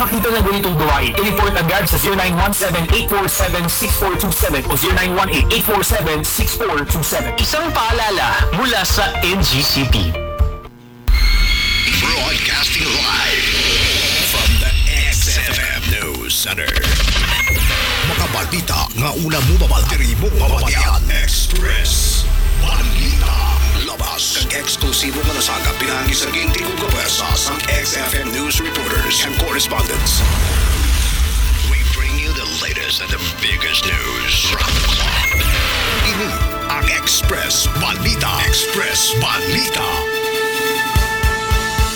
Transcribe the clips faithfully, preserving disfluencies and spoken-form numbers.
Makita na ganitong gawain, i-report agad sa zero nine one seven, eight four seven, six four two seven o zero nine one eight, eight four seven, six four two seven. Isang paalala mula sa N G C P. Broadcasting live from the X F M News Center. Makabalita nga una mo mabal-, diri mo mabatian. Express Balita. Labas kag eksklusibo nga nasagap pinagi sa ginti ug kapuwersa sang X F M news reporters and correspondents. We bring you the latest and the biggest news from the clock. Ini ang Express Balita. Express Balita.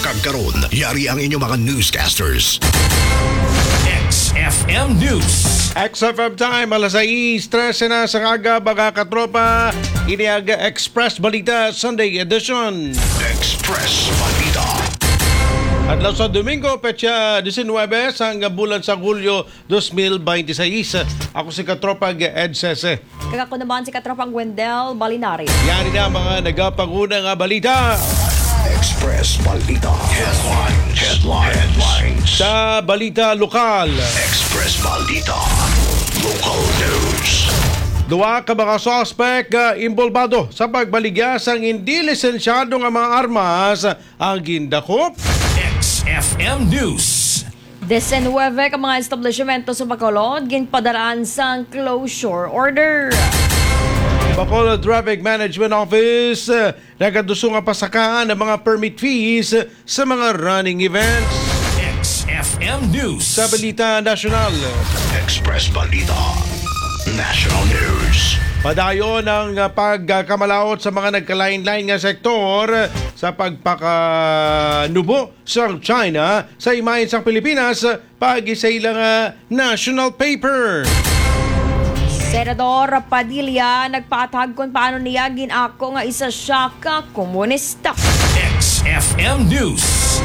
Kag karon, yari ang inyong mga newscasters. X F M News. X F M Time, alas sais trese na sa aga, mga katropa. Ini ang Express Balita Sunday Edition. Express Balita. Adlaw sa Domingo, petsa diecinuebe sang bulan sa Hulyo dos mil veintiseis. Ako si Katropang Ed Sese. Kag ako naman si Katropang Wendell Balinares. Yan na ang mga nagapanguna nga balita. Express Balita. Headlines. Headlines. Sa balita lokal. Express Balita. Local news. Duha ka mga suspek, ah, involbado sa pagbaligya sang hindi lisensyado nga mga armas ang gindakop. X F M News. Diecinuebe ka mga establishmento sa Bacolod ginpadaraan sang closure order. Bacolod Traffic Management Office, eh, nagaduso nga pasakaan ang mga permit fees sa mga running events. X F M News. Sa balita nasyonal. Express Balita National News. Padayon ang, ah, pagkamalaot sa mga nagkalain-lain nga sektor sa pagpakanubo sang China sa imahen sang Pilipinas, paagi sa ila nga national paper. Senador Padilla nagpaathag kon paano niya gin-ako nga isa siya ka komunista. X F M News.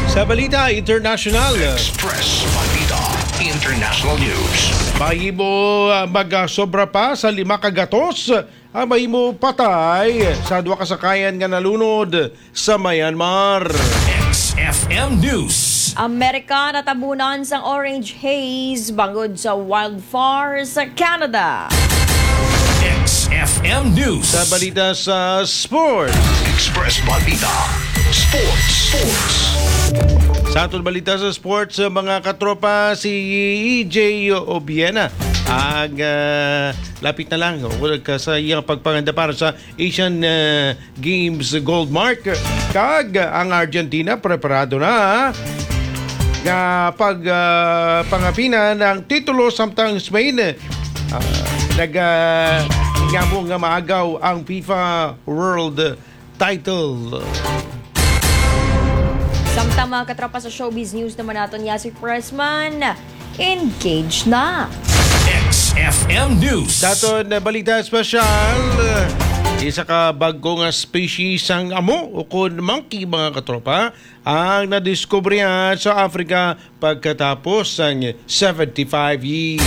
Sa balita international. Express Balita International News. Mahimo, ah, magasobra pa sa lima ka gatos ang mahimo patay sa duha ka sakayan nga nalunod sa Myanmar. X F M News. Amerika natabunan sang orange haze bangod sa wildfire sa Canada. X F M News. Sa balita sa sports. Express Balita. Sports. Sports. Sa aton balita sa sports, mga katropa, si E J Obiena ang, ah, lapit na lang o ka sa iyang pagpanganda para sa Asian, ah, Games gold mark. Kag ang Argentina preparado na nga pag, ah, pangapinan ang titulo, samtang Spain, ah, nag, ah, ngamo nga maagaw ang FIFA World Title. Samtang, mga katropa, sa showbiz news naman naton, ya si Pressman, engage na. X F M News. Sa aton, eh, balita espesyal, eh, isa ka bag-o nga species sang amo ukon monkey, mga katropa, ang nadiskubrihan sa Africa pagkatapos sang seventy-five years.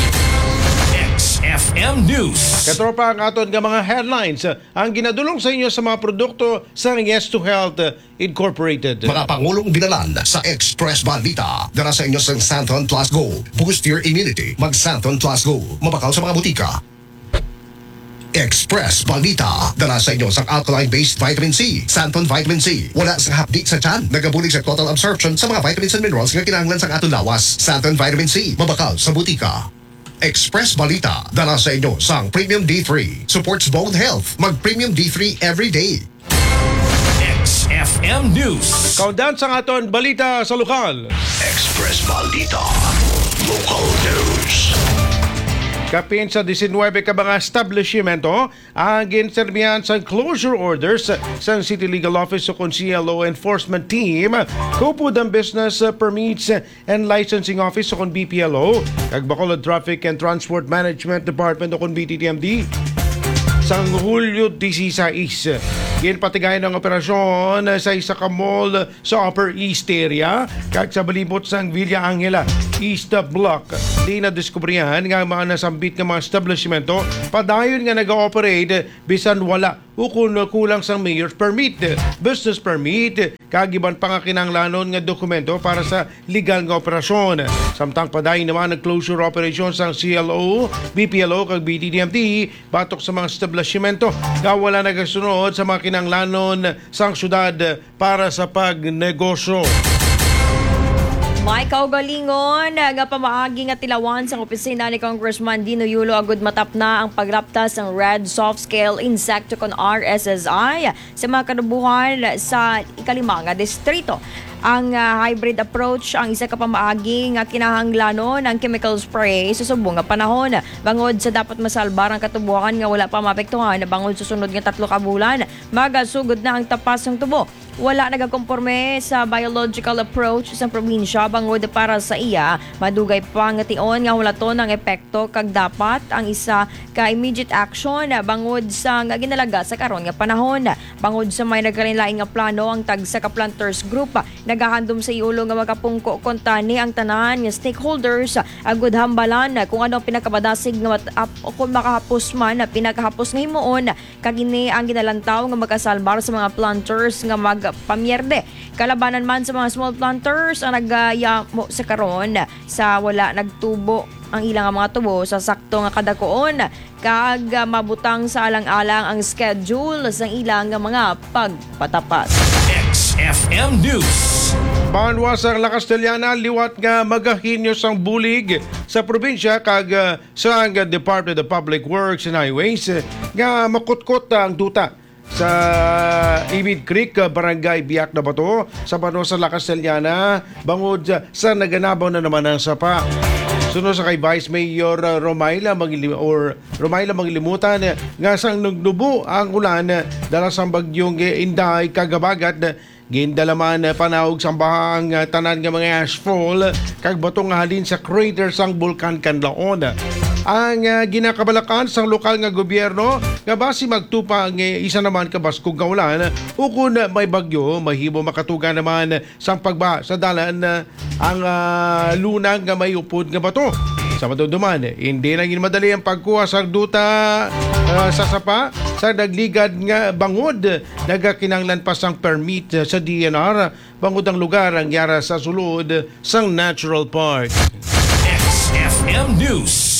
X F M News. Katropa, ang aton nga mga headlines, eh, ang ginadulong sa inyo sa mga produkto sa Yes to Health, eh, Incorporated. Mga pangulong binalan sa Express Balita. Dala sa inyo sang Santon Plus Go. Boost your immunity. Mag Santon Plus Go. Mabakal sa mga butika. Express Balita. Dala sa inyo sang alkaline-based vitamin C, Santon Vitamin C. Wala sang hapdi sa tiyan. Nagabulig sa total absorption sa mga vitamins and minerals nga kinahanglan sang aton lawas. Santon Vitamin C. Mabakal sa butika. Express Balita. Dala sa inyo sang Premium D three. Supports bone health. Mag Premium D three every day. X F M News. Kaundan sang aton balita sa lokal. Express Balita. Local news. Kapin sa diecinuebe ka mga establishmento ang ginserbihan sang closure orders sang City Legal Office ukon C L O Enforcement Team, kaupod ang Business Permits and Licensing Office ukon B P L O, kag Bacolod Traffic and Transport Management Department ukon B T T M D. Sang Hulyo dieciséis, ginpatigayon ang operasyon sa isa ka mall sa Upper East Area kag sa balibot sang Villa Angela East Block. Di nadiskubrihan nga ang mga nasambit nga mga establishmento padayon nga nag-ooperate bisan wala ukon kulang sang mayor's permit, business permit, kag iban pa nga kinahanglanon nga dokumento para sa legal nga operasyon. Samtang padayon naman ang closure operation sang C L O, B P L O kag B D D M T batok sa mga establishmento nga wala nagasunod sa mga kinahanglanon sang syudad para sa pagnegosyo. May kaugalingon nga pamaagi nga tilawan sang opisina ni Congressman Dino Yulo agud matapna ang paglapta sang Red Soft Scale Insecticon, R S S I, sa mga katubohan sa ikalima nga distrito. Ang, ah, hybrid approach ang isa ka pamaagi nga kinahanglanon ang chemical spray sa subong nga panahon, bangod sa dapat masalbar ang katubohan nga wala pa maapektuhan bangod sa sunod nga tatlo ka bulan. Magasugod na ang tapas sang tubo. Wala nagakomporme sa biological approach sang probinsya bangod para sa iya, madugay pa nga tion nga hulaton ang epekto kag dapat ang isa ka immediate action bangod sa nga ginalaga sa karon nga panahon. Bangod sa may nagkalainlain nga plano ang tagsa ka planters group, nagahandom sa Yulo nga magapungko kuntani ang tanan nga stakeholders agud hambalan kung ano ang pinakamadasig nga mat-, ap-, kung makahapos man, pinakahapos nga himuon. Kag ini ang ginalantaw nga makasalbar sa mga planters nga magpamierde. Kalabanan man sa mga small planters ang nagayamo sa karon sa wala nagtubo ang ilang mga tubo sa sakto nga kadakuon, kag, ah, mabutang sa alang-alang ang schedule sa ilang mga pagpatapas. X F M News. Banwa sang La Castellana, liwat nga magahinyo sang bulig sa probinsya kag, ah, sang Department of Public Works and Highways, eh, nga makutkot ang duta sa Ibid Creek, ah, Barangay Biak na Bato, sa banwa sa La Castellana, bangod sa naganabaw na naman ang sapa. Suno sa kay Vice Mayor, ah, Romaila Mangili-, or Romaila Mangilimutan, eh, nga sang nagnubo ang ulan, eh, dala sang bagyong, eh, Inday kag habagat, eh, gindala man, eh, panaog sang baha ang, ah, tanan nga mga ashfall kag bato nga halin sa crater sang Bulkan Kanlaon. Ang, ah, ginakabalakan sang lokal nga gobyerno nga basi magtupa ang, eh, isa naman ka baskog nga ulan, ukon may bagyo, mahimo makatuga naman sang pagbaha sa dalan, ah, ang, ah, lunang nga may upod nga bato. Sa madumduman, hindi na gid madali ang pagkuha sa duta, ah, sa sapa sa nagligad nga bangod. Nagakinahanglan pa sang permit sa D N R bangod ang lugar ang yara sa sulod sang Natural Park. X F M News.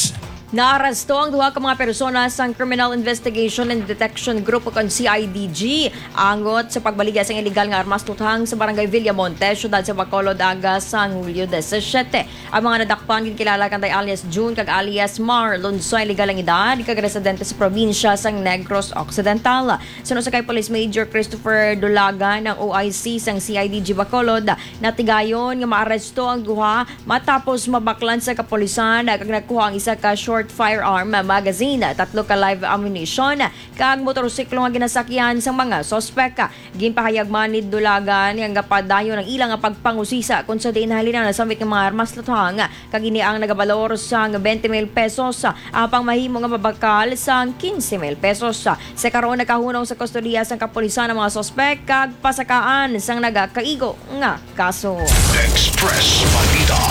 Naaresto ang duha ka mga persona sang Criminal Investigation and Detection Group o kon C I D G, angot sa pagbaligya sang iligal nga armas luthang sa Barangay Villamonte, siyudad sa Bacolod, aga sang Hulyo disisiete. Ang mga nadakpan ginkilala kanday alias June kag alias Marlon, sa iligal ang edad, kag residente sa probinsya sang Negros Occidental. Suno sa kay Police Major Christopher Dulagan, ang O I C sang C I D G Bacolod, natigayon nga maaresto ang duha matapos mabaklan sa kapulisan kag nakuha ang isa ka short firearm magazine, tatlo ka live ammunition, kag motorsiklo nga ginasakyan sang mga suspek. Ginpahayag man ni Dulagan nga padayon ang ila nga pagpangusisa kon sa diin nahalin ang nasambit nga mga armas luthang, kag ini ang nagabalor sang twenty mil pesos, apang mahimo nga mabakal sang quince mil pesos. Sa karon, nakahunong sa kustodiya sang kapulisan ang mga suspek kag pasakaan sang nagakaigo nga kaso. Express Balita.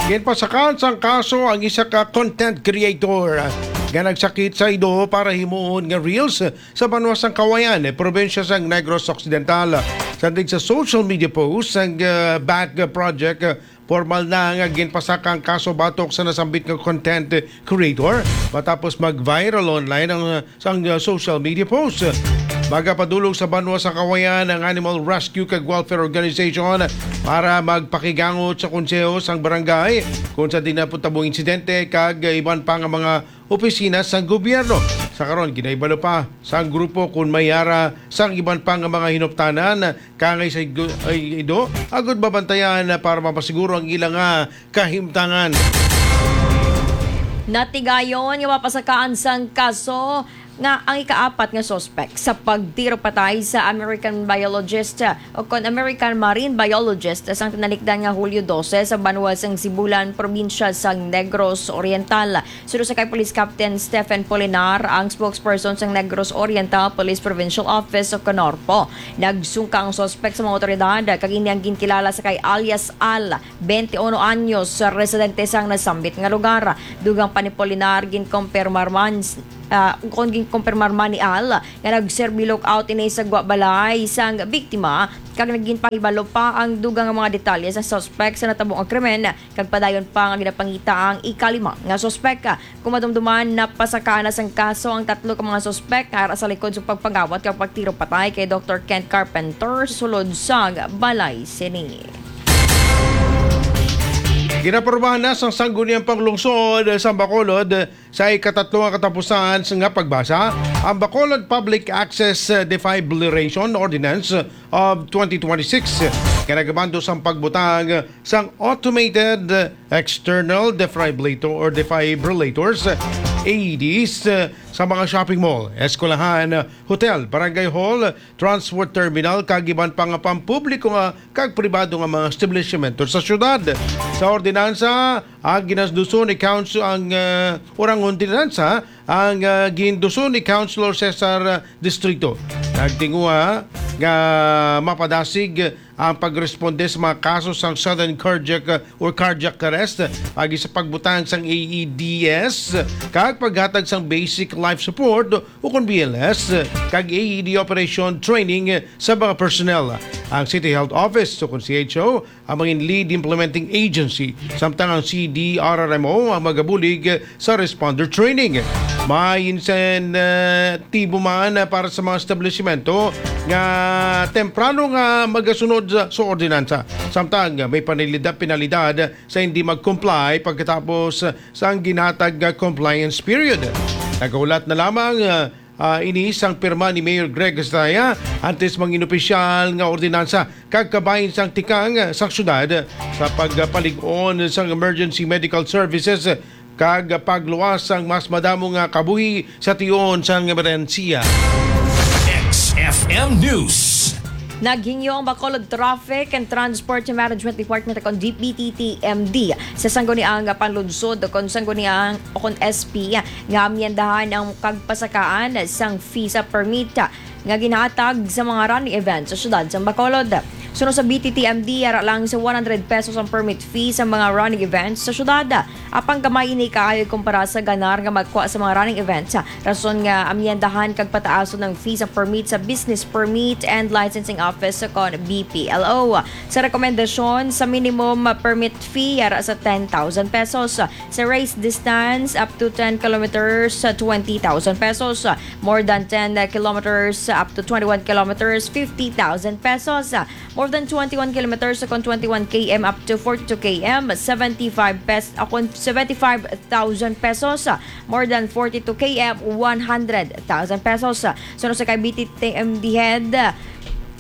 Ginpasakaan sang kaso ang isa ka content creator nga nagsakit sa ido para himuon nga reels sa banwa sang Cauayan, probinsya sang Negros Occidental. Sandig sa social media post sang, uh, Back Project, uh, formal na nga ginpasaka ang kaso batok sa nasambit nga content creator matapos mag-viral online ang, uh, sang, uh, social media post. Magapadulong sa banwa sa Cauayan ang Animal Rescue kag Welfare Organization para magpakigangot sa konseho sang barangay kung sa dinaputabo insidente kag iban pa nga mga opisina sang gobyerno. Sa karon, ginahibalo pa sang grupo kung may ara sang iban pa nga mga hinuptanan kangay sa igo-, ay, ido, agud mabantayan para mapasiguro ang ila nga kahimtangan. Natigayon nga mapasakaan sang kaso nga ang ikaapat nga suspek sa pagtiro patay sa American biologist o kon American marine biologist sang tinalikdan nga Hulyo dose sa banwa sang Sibulan, probinsya sang Negros Oriental. Suno sa kay Police Captain Stephen Polinar, ang spokesperson sang Negros Oriental Police Provincial Office o kon NORPO, nagsungka ang suspek sa mga otoridad kag ini ang ginkilala sa kay alias Al, twenty-one anyos, residente sang nasambit nga lugar. Dugang pa ni Polinar, ginkumpirmar man ah, kon ginkumpirmar man ni Al nga nagserbi lookout ini sa gwa balay sang biktima, kag naginpahibalo pa ang dugang nga mga detalye sa suspek sa natabo nga krimen, kag padayon pa nga ginapangita ang ikalima nga suspek. Kung madumduman, napasakaan na sang kaso ang tatlo ka mga suspek nga ara sa likod sa pagpangawat kag pagtiro patay kay Doktor Kent Carpenter sulod sang balay sini. Ginapormahan na sang Sangguniang Panglungsod sa Bacolod sa ikatatlo nga katapusan nga pagbasa ang Bacolod Public Access Defibrillation Ordinance of twenty twenty-six, nga nagabando sang pagbutang sang automated external defibrillator or defibrillators, A E Ds, sa mga shopping mall, eskwelahan, hotel, barangay hall, transport terminal, kag iban pa nga pampubliko nga kag pribado nga mga establishmento sa syudad. Sa ordinansa, ang ginasduson ni council ang, ah, urang ordinansa ang, ah, ginduson ni Councilor Cesar, ah, Distrito. Nagtinguha nga mapadasig ang pagresponde sa mga kaso sang sudden cardiac, ah, or cardiac arrest, agi sa pagbutang sang A E Ds kag paghatag sang basic life support ukon B L S, kag A E D operation training sa mga personnel. Ang City Health Office, ukon C H O, ang mga lead implementing agency, samtang ang C D R R M O ang magabulig sa responder training. May insentibo man para sa mga establishmento nga temprano nga magasunod sa ordinansa, samtang may panalida-, penalidad sa hindi mag-comply pagkatapos sang ginhatag nga compliance period. Nagahulat na lamang, ah, ah, ini sang pirma ni Mayor Greg Estrada antes mangin-opisyal nga ordinansa kag kabahin sang tikang, ah, sang syudad sa pagpalig-on sang emergency medical services kag pagluwas sang mas madamo nga kabuhi sa tion sang emerhensiya. X F M News. Naghingyo ang Bacolod Traffic and Transport Management Department, kon D P T T M D, sa sangguniang panlunsod o kon sangguniang o kon S P nga amyendahan ang kagpasakaan sang visa permit nga ginhatag sa mga running events sa siyudad sa Bacolod. Suno sa B T T M D, ara lang sa one hundred pesos ang permit fee sa mga running events sa siyudad. Apang gamay ini kaayo kumpara sa ganar nga magkuha sa mga running events, rason nga amyendahan kag pataason ang fee sa permit sa Business Permit and Licensing Office kon B P L O. Sa rekomendasyon sa minimum permit fee ara sa ten thousand pesos, sa race distance up to ten kilometers, twenty thousand pesos, more than ten kilometers up to twenty-one kilometers, fifty thousand pesos, more than twenty-one kilometers kon twenty-one K M up to forty-two K M, seventy-five pes-, ah, kon seventy-five thousand pesos, more than forty-two K M, one hundred thousand pesos. Suno sa kay B T T M D head,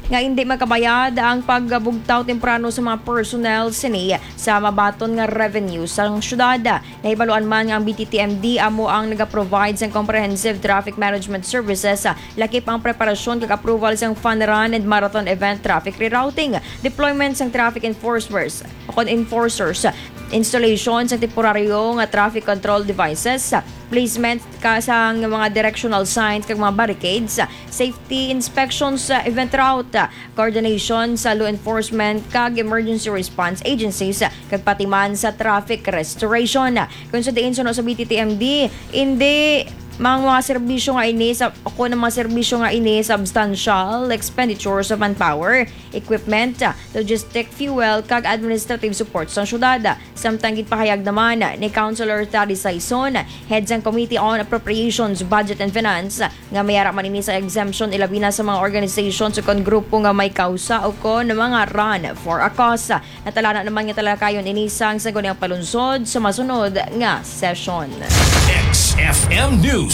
nga hindi makabayad ang pagbugtaw temprano sa mga personnel sini sa mabaton nga revenue sang syudad. Nahibaluan man nga ang B T T M D amo ang nagaprovide sang comprehensive traffic management services, lakip ang preparasyon kag approval sang fun run and marathon event traffic rerouting, deployment sang traffic enforcers, kon enforcers, installation sang temporaryo nga traffic control devices, placement ka sang mga directional signs kag mga barricades, safety inspections sa event route, coordination sa law enforcement kag emergency response agencies, kag pati man sa traffic restoration. Kung sa diin suno sa B T T M D, hindi mang mga serbisyo nga ini sa, o kon ang mga serbisyo nga ini substantial expenditures of manpower, equipment, logistic, fuel, kag administrative support sa syudad. Samtang ginpahayag naman ni Councilor Thady Saison, head sang Committee on Appropriations, Budget and Finance, nga may ara man ini sa exemption, ilabi na sa mga organizations o kon grupo nga may kausa o kon mga run for a cause. Natalana naman nga talakayon ini sang sangguniang palunsod sa masunod nga session. X F M News.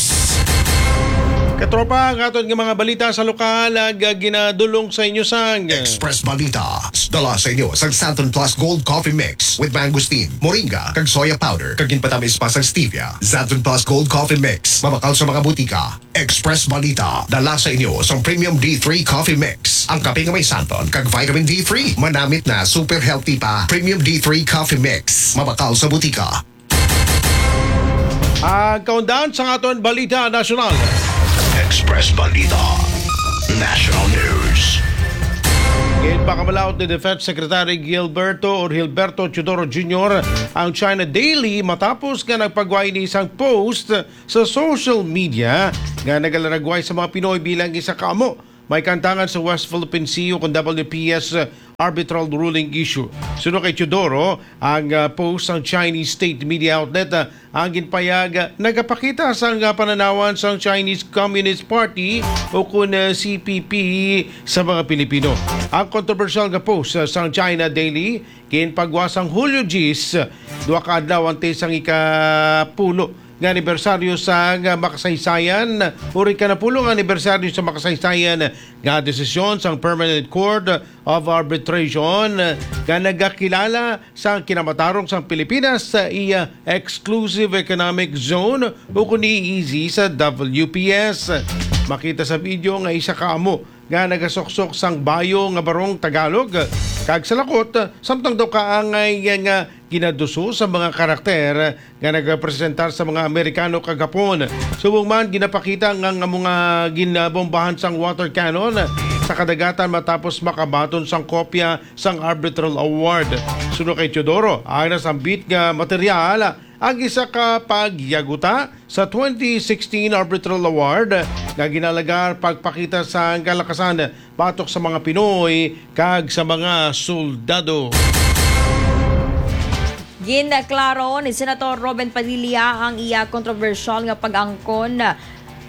Katropa, ang aton nga mga balita sa lokal, ag, ginadulong sa inyo sang Express Balita. Dala sa inyo sang Santon Plus Gold Coffee Mix with mangosteen, moringa, kag soya powder, kag ginpatamis pa sang stevia. Santon Plus Gold Coffee Mix, mabakal sa mga butika. Express Balita, dala sa inyo sang Premium D three Coffee Mix. Ang kape nga may santon kag vitamin D three, manamit na, super healthy pa. Premium D three Coffee Mix, mabakal sa butika. Ang kaundan sa aton balita nasyonal. Express Balita National News. Ginpakamalaot ni Defense Secretary Gilberto or Gilberto Teodoro Junior ang China Daily matapos nga nagpagway ni isang post sa social media nga nagalaragway sa mga Pinoy bilang isa ka amo may kantangan sa West Philippine Sea o kon W P S arbitral ruling issue. Suno kay Teodoro, ang, ah, post sang Chinese state media outlet, ah, ang ginpayag, ah, nagapakita sang, ah, pananawan sang Chinese Communist Party o kon, ah, C P P sa mga Pilipino. Ang kontrobersyal nga post, ah, sang China Daily ginpagwa sang Hulyo diyes, duha ka adlaw antes sang ikapulo nga anibersaryo sang makasaysayan, uri ka napulong anibersaryo sa makasaysayan nga desisyon sang Permanent Court of Arbitration nga nagakilala sa kinamatarong sang Pilipinas sa iya Exclusive Economic Zone o kun E E Z sa W P S. Makita sa video nga isa ka amo nga nagasuksok sang bayo nga barong Tagalog kag salakot, samtang daw kaangay nga ginaduso sa mga karakter nga nagapresentar sa mga Amerikano kag Hapon. Subong man, ginapakita nga, nga mga ginabombahan sang water cannon sa kadagatan matapos makabaton sang kopya sang arbitral award. Suno kay Teodoro, ang nasambit nga material ang isa ka pagyaguta sa twenty sixteen Arbitral Award nga ginalagar pagpakita sang kalakasan batok sa mga Pinoy kag sa mga soldado. Ginklaro ni Senator Robin Padilla ang iya kontrobersyal nga pag-angkon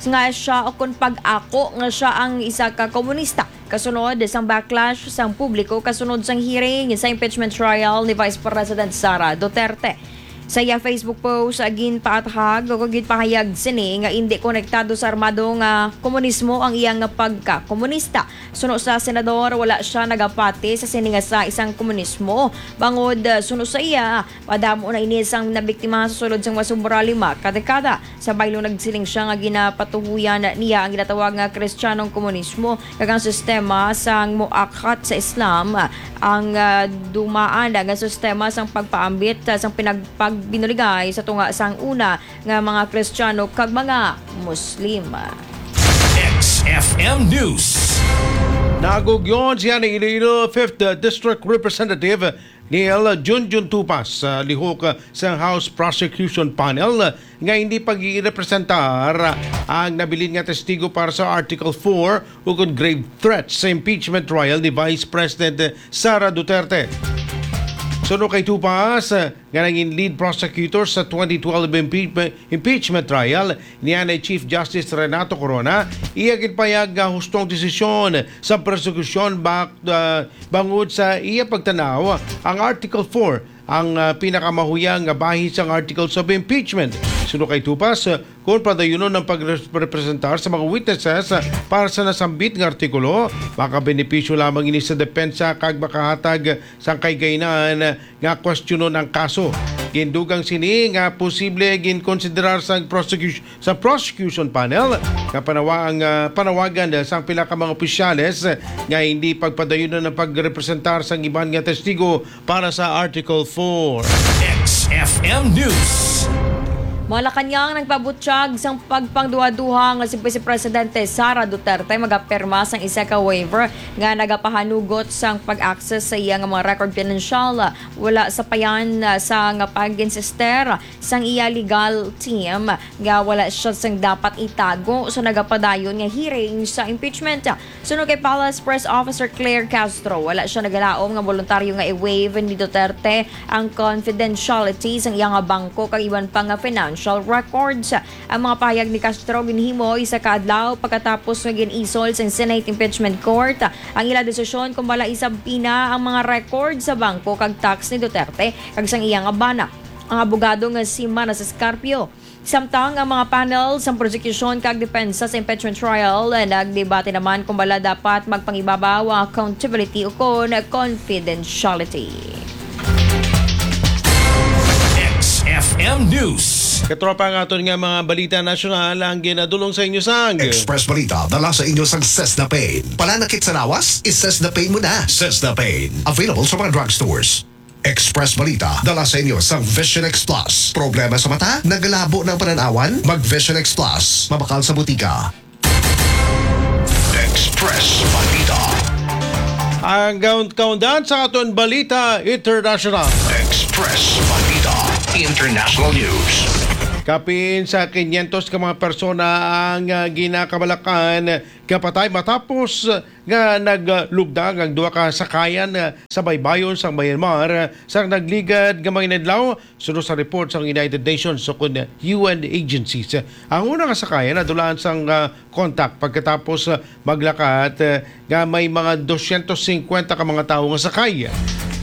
nga siya o kon pag-ako nga siya ang isa ka komunista. Kasunod sang backlash sang publiko kasunod sang hearing sa impeachment trial ni Vice President Sara Duterte. Sa iya Facebook post, ginpaathag o ginpahayag sini nga indi konektado sa armado nga komunismo ang iya nga pagka-komunista. Suno sa senador, wala siya nagapati sa sini nga sa isang komunismo. Bangod, suno sa iya, madamo na ini sang nabiktima sa sulod sang mas sobra lima ka dekada. Sa baylo, nagsiling siya nga ginapatuhuyan niya ang ginatawag nga Kristiyanong komunismo kag ang sistema sang muakhat sa Islam, ang, ah, dumaan nga sistema sang pagpaambit, ah, sang pinagpagbinuligay sa tunga sang una nga mga Kristiyano kag mga Muslim. X F M News. Nagugyon siya ni Iloilo Fifth District Representative Neil Junjun Tupas sa lihok sa House Prosecution Panel nga hindi pag-irepresentar ang nabilin nga testigo para sa Article four ukon grave threats sa impeachment trial ni Vice President Sara Duterte. Suno kay Tupas, nga naging lead prosecutor sa twenty twelve impeachment, impeachment trial, niya ni Chief Justice Renato Corona, iya ginpayag nga hustong desisyon sa prosekusyon bak-, ah, bangod sa iya pagtanaw, ang Article four ang, ah, pinakamahuyang nga bahin sang Articles of Impeachment. Suno kay Tupas, ah, kung padayunon ang pagrepresentar sa mga witnesses, ah, para sa nasambit nga artikulo, makabenepisyo lamang ini sa depensa kag makahatag sang kahigayonan nga kwestiyonon ang kaso. Gindugang sini nga posible ginkonsiderar sa prosecu-, sa prosecution panel nga panawa-, ang, ah, panawagan sang pila ka mga opisyales nga hindi pagpadayunon ang pagrepresentar sang iban nga testigo para sa Article four. X F M News. Malacañang nagpabutyag sang pagpangduha-duha nga si Vice Presidente Sara Duterte magapirma sang isa ka waiver nga nagapahanugot sang pag-access sa iya nga mga record pinansyal. Wala sapayan, ah, sa nga pag-insister sang iya legal team nga wala siya sang dapat itago sa nagapadayon nga hearing sa impeachment. Suno kay Palace Press Officer Claire Castro, wala siya nagalaom nga boluntaryo nga i-waive ni Duterte ang confidentiality sang iya nga bangko kag iban pa nga financial records. Ang mga pahayag ni Castro ginhimo isa ka adlaw pagkatapos nga gin-isol sang Senate Impeachment Court ang ila desisyon kung bala isubmina ang mga record sa bangko kag tax ni Duterte kag sang iya nga bana. ang abogado nga si Manas Escarpio. Samtang ang mga panel sang prosekusyon kag depensa sa impeachment trial, eh, nagdebate naman kung bala dapat magpangibabaw ang accountability o kon confidentiality. X F M News. Katropa, ang aton nga mga balita nasyonal ang ginadulong sa inyo sang Express Balita, dala sa inyo sang Sesna Pain. Pananakit sa lawas? I-Sesna Pain mo na. Sesna Pain. Available sa mga drugstores. Express Balita, dala sa inyo sang Vision X Plus. Problema sa mata? Nagalabo ng pananawan? Mag Vision X Plus. Mabakal sa butika. Express Balita. Ang kaun- kaundan sa aton balita international. Express Balita. International News. Kapin sa kinyentos ka mga persona ang ah, ginakabalakan kapatay matapos nga naglugdang ang duha ka sakayan ah, sa baybayon sa Myanmar sa nagligad nga mga inadlaw. Suno sa report sa United Nations o kun U N agencies, ang una nga sakayan nadulaan sang ah, contact pagkatapos ah, maglakat ah, nga may mga dosyentos singkwenta ka mga tawo nga sakay.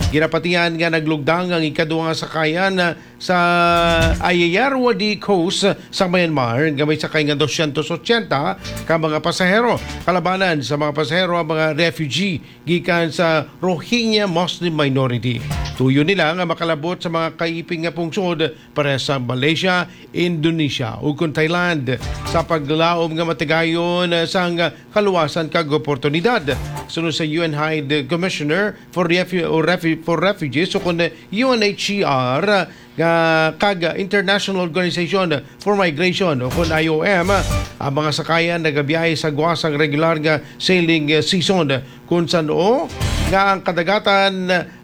Ginapatihan nga naglugdang ang ikaduha nga sakayan ah, sa Ayeyarwady Coast sa Myanmar nga may sakay nga dosyentos otsenta ka mga pasahero. Kalabanan sa mga pasahero ang mga refugee gikan sa Rohingya Muslim minority. Tuyo nila nga makalabot sa mga kaiping nga pungsod para sa Malaysia, Indonesia, ug kon Thailand sa paglaom nga matigayon sang kaluwasan kag oportunidad. Suno sa U N High Commissioner for, Refu- or Refu- for Refugees o kon U N H C R nga kag International Organization for Migration o kon I O M, ang mga sakayan nagabiyahe sa gwa sang regular nga sailing season, kun san-o nga ang kadagatan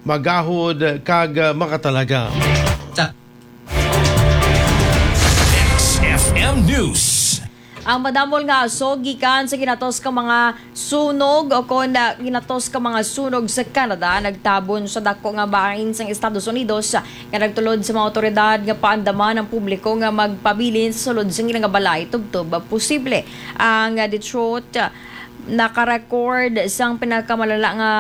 magahod kag makatalaga. X F M News. Ang madamol nga aso gikan sa ginatos ka mga sunog o kon ah, ginatos ka mga sunog sa Canada nagtabon sa dako nga bahin sang Estados Unidos, ah, nga nagtulod sa mga awtoridad nga paandaman ang publiko nga magpabilin sa sulod sang ila nga balay tubtob posible. Ang ah, Detroit ah, nakarecord sang pinakamalala nga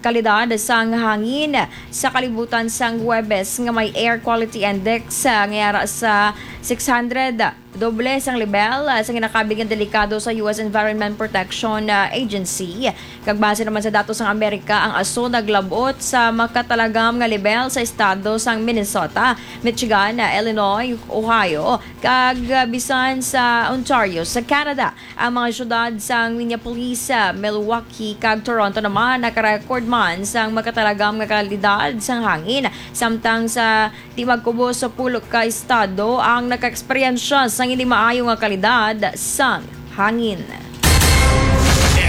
kalidad sang hangin sa kalibutan sang Huwebes nga may air quality index ah, nga yara sa six hundred. Doble sang lebel ah, sa ginakabig nga delikado sa U S Environment Protection ah, Agency. Kag base naman sa datos sang Amerika, ang aso naglabot sa makatalagam nga lebel sa estado sang Minnesota, Michigan, ah, Illinois, Ohio, kag ah, bisan sa Ontario sa Canada. Ang mga syudad sang Minneapolis, ah, Milwaukee, kag Toronto naman nakarecord man sang makatalagam nga kalidad sang hangin, samtang sa di magkubos sa pulo ka estado ang nakaeksperyensya sang hindi maayo nga kalidad sang hangin.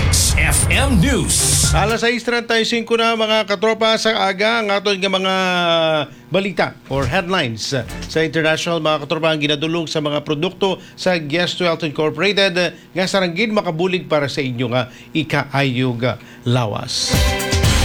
X F M News. Alas sais treinta y cinco na, mga katropa, sa aga ang aton nga mga balita or headlines sa international, mga katropa, ang ginadulong sa mga produkto sa Guest Wealth Incorporated nga sarang gid makabulig para sa inyo nga ikaayog lawas.